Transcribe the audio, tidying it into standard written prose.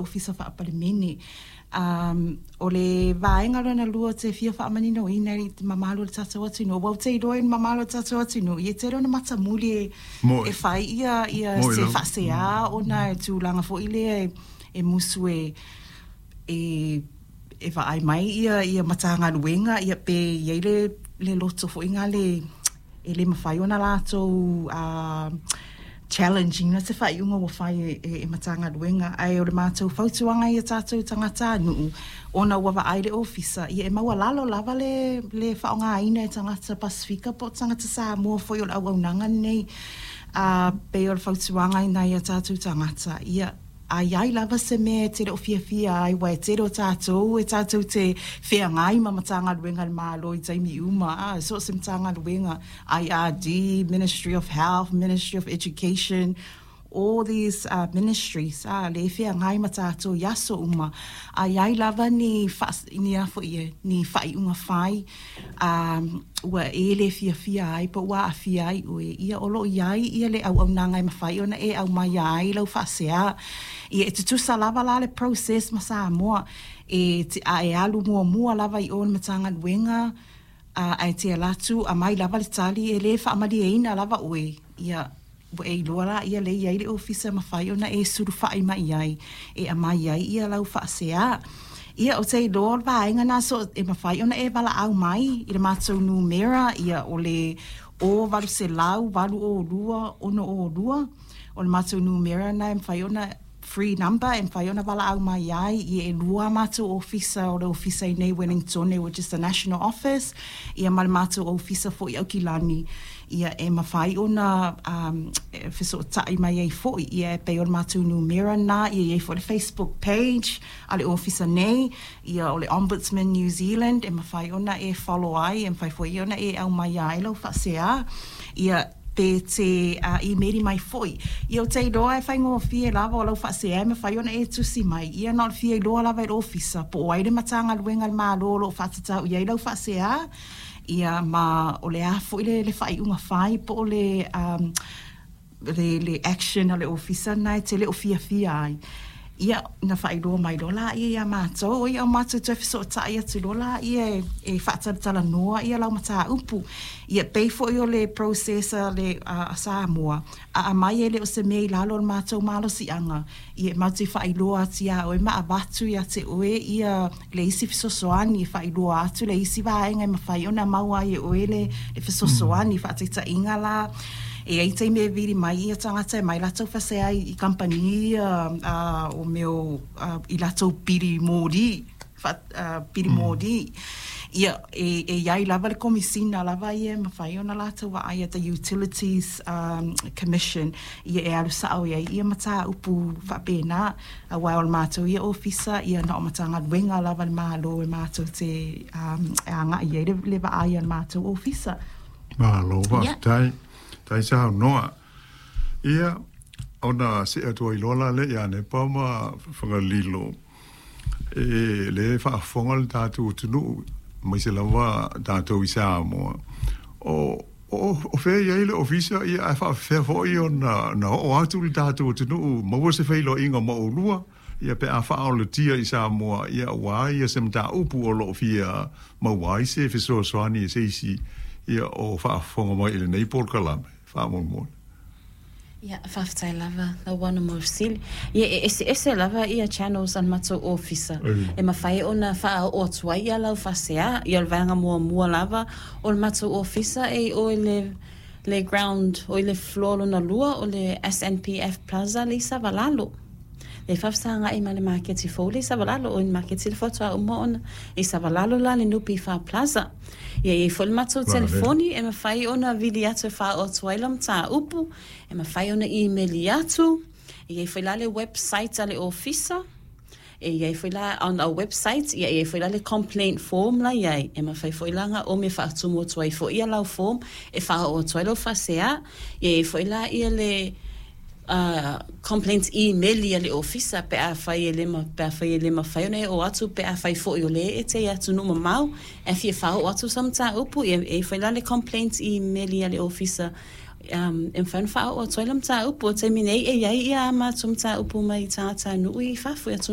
Ofisa Faa-Palemene. O le vaega lona lua ou te fia faamaninoina i le mamalu o le tatou atunuu, aua ou te iloa i le mamalu o le tatou atunuu, ia e tele ona matamuli e fai ia se faasea ona e tulaga foi lea e musu e vaai mai ia Matagaluega, ia pe i ai le loto foi lea e le mafai ona latou challenge ina se faaiuga ua fai e Matagaluega. Ae o le matou fautuaga ia tatou tagatanuu, ona ua vaai le Ofisa, ia e maualalo lava le faaaogaina e tagata Pasefika po o tagata Samoa foi o le auaunaga lenei. Pei o le fautuaga i nai a tatou tagata, ia a i ai lava se mea e te le o fiafia ai, aua e tele o tatou e tatou te feagai ma Matagaluega a le Malo i taimi uma, so o se Matagaluega, IRD, Ministry of Health, Ministry of Education, all these ministries, le e feagai ma tatou i aso uma. A i ai lava ni a foi e, ni faaiuga fai ua e le fiafia ai po ua aafia ai oe, ia o lo o i ai ia le auaunaga e mafai ona e aumaia ai lau faasea. Ia e tutusa lava la le process ma Samoa, a e alu muamua lava i o i le Matagaluega, ae te alu atu aumai lava le tali e le faamalieina lava oe, ia ua e iloa la ia lea e i ai le ofisa e mafai ona e sulufai mai ai e aumai ai ia lau faasea. Ia, ou te iloa o le vaega lena so e mafai ona e valaau mai i le matou numera, ia o le 0 800 802 602. O le matou numera lena e mafai ona free number e mafai ona valaau mai ai. Ia e lua a matou ofisa, o le ofisa i nei Wellington, which is the national office, ia ma le matou ofisa foi i Aukilani, ia e mafai ona fesootai mai ai foi. Ia e pei o le matou numera lena. Ia e i ai foi le Facebook page a le ofisa nei, ia o le Ombudsman New Zealand, e mafai ona e follow ai, e mafai foi ona e aumaia ai lau faasea. Ia pe te email mai foi. Ia ou te iloa e faigofie lava o lau faasea e mafai ona e tusi mai. Ia na o le fia iloa lava i le ofisa po o ai le Matagaluega a le Malo o lo o faatatau i ai lau faasea, ia ma o le a foi le faaiuga fai po o le action a le ofisa lena e te le o fiafia ai. Ia, na faailoa mai loa laia ia matou, ia o matou toe fesootai atu loa laia e faatalatalanoa ia lau mataupu. Ia pei foi o le process a Samoa, a aumai e le o se mea i lalo o le matou malosiaga, ia e matou te faailoa atu ia oe ma avatu ia te oe ia le isi fesoasoani, e faailoa atu le isi vaega e mafai ona maua ai e oe le fesoasoani. Faataitaiga la, e i ai taimi e vili mai ia tagata e mai latou faasea i kamupani ia o mea i latou pili moli, pili moli. Ia, e i ai lava le komisina lava ia e mafai ona latou vaaia, the Utilities Commission, ia e alu sao i ai ia mataupu faapena. Aua o le matou ia ofisa, ia na o Matagaluega lava a le Malo e matou te e agai i ai le vaai a le matou ofisa. Malo, faafetai. Tai saunoa. Ia, ona see atu ai loa la lea ia Nepa ma Fagalilo, e le faafofoga le tatou atunuu, aemaise lava tatou i Samoa. O fea i ai le ofisa, ia ae faafefea foi ona na oo atu le tatou atunuu maua se feiloaiga ma oulua, ia pe a faaolatia i Samoa, ia ua ia se mataupu o loo fia maua ai se fesoasoani e se isi ia o faafofoga mai i lenei polokalame faamolemole. Ia, faafetai lava lau ana mo fesili. Ia, e eseese lava ia channels a le matou ofisa e mafai ona faaoo atu ai ia lau faasea. Ia, o le vaega muamua lava o le matou ofisa e i o i le ground, o i le floor lona lua o le SNPF Plaza le i Savalalo. Le faafesagai ma le maketi fou le i Savalalo, o le maketi le faatoa uma ona i Savalalo la le NPF Plaza. Ia, e i ai foi le matou telefoni e mafai ona vili atu e faaoo atu ai lau mataupu, e mafai ona email atu. E i ai foi la le website a le ofisa. E i ai foi la on our website, ia e i ai foi la le complaint form la i ai. E mafai foi la ona ome faatumu atu ai foi ia lau form e faaoo atu ai lau faasea. Ia e i ai foi la ia le complaints email a le ofisa pe a fai e le mafai ona e oo atu, pe a fai foi o le e te i atunuu mamao e fia faaoo atu sa mataupu. Ia e i ai foi la le complaints email a le ofisa e mafai ona faaoo atu ai la mataupu. O taimi nei e i ai ia a matou mataupu mai tagatanuu i fafo i atunuu.